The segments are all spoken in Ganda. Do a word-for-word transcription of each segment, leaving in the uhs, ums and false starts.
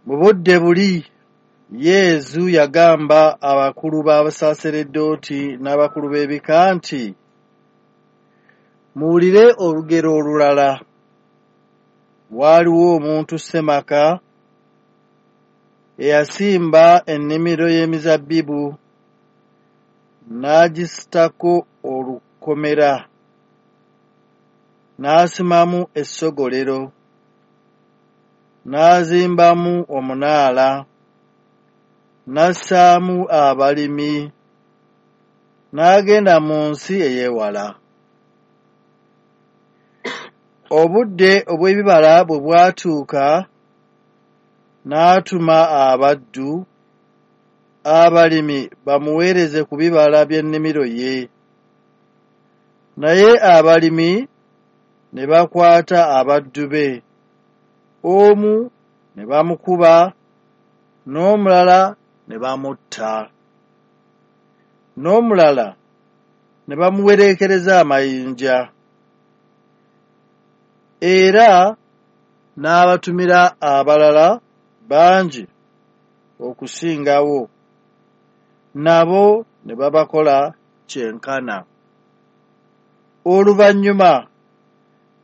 Mu budde buli Yezu yagamba abakulu b'abasaaseredooti n'abakulu b'ebika nti, Muwulire olugero olulala. Waaliwo omuntu ssemaka eyasimba ennimiro y'emizabbibu n'agisitako olukomera, n'asimamu essogolero, n'azimbamu omunaala, n'assaamu abalimi, n'agenda mu nsi ey'ewala. Obudde obw'ebibala bwe bwatuuka, n'atuma abaddu, abalimi bamuweereze ku bibala by'ennimiro ye. Naye abalimi ne bakwata abaddu be, omu ne bamukuba, n'omulala ne bamutta, n'omulala ne bamuwereekereza amayinja. Era n'abatumira abalala bangi okusingawo, nabo ne babakola kyenkana. Oluvannyuma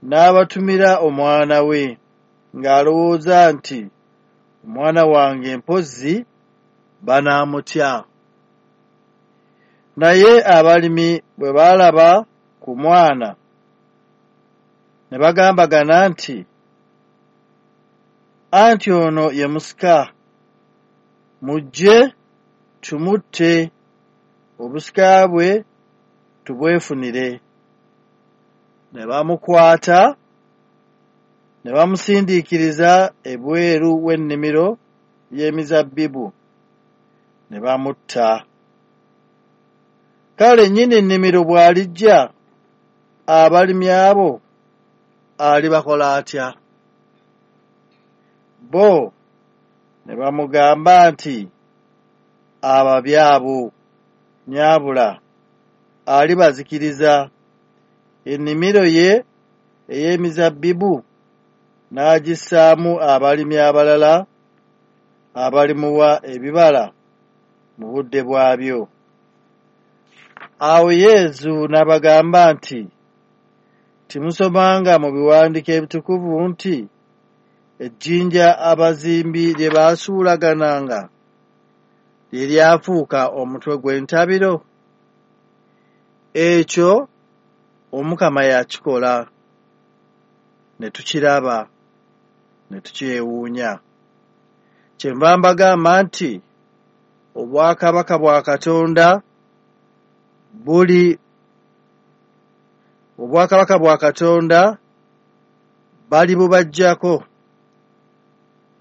n'abatumira omwana we, ng'alowooza nti, Omwana wange mpozzi banaamutya. Naye abalimi bwe baalaba ku mwana, ne bagambagana nti, Anti ono ye musika, mujje tumutte, obusika bwe tubwefunire. Ne bamukwata, ne bamusindiikiriza ebweru w'ennimiro y'emizabbibu, ne bamutta. Kale nnyini nnimiro bw'alijja, abalimi abo alibakola atya? Bo ne bamugamba nti, Ababi abo nnyabula alibazikiriza, ennimiro ye ey'emizabbibu n'agissaamu abalimi abalala abalimuwa ebibala mu budde bwabyo. Awo Yezu n'abagamba nti, Temusomanga mu biwandiiko ebitukuvu nti, Ejjinja abazimbi lye baasuulagananga lye lyafuuka omutwe gw'entabiro? Ekyo Omukama yakikola, ne tukiraba, ne tukyewuunya. Kyenva mbagamba nti obwakabaka bwa Katonda buli obwakabaka bwa Katonda balibubaggyako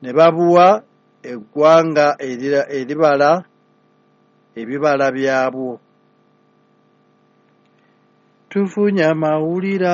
ne babuwa eggwanga eribala ebibala byabwo. Tufunye amawulire.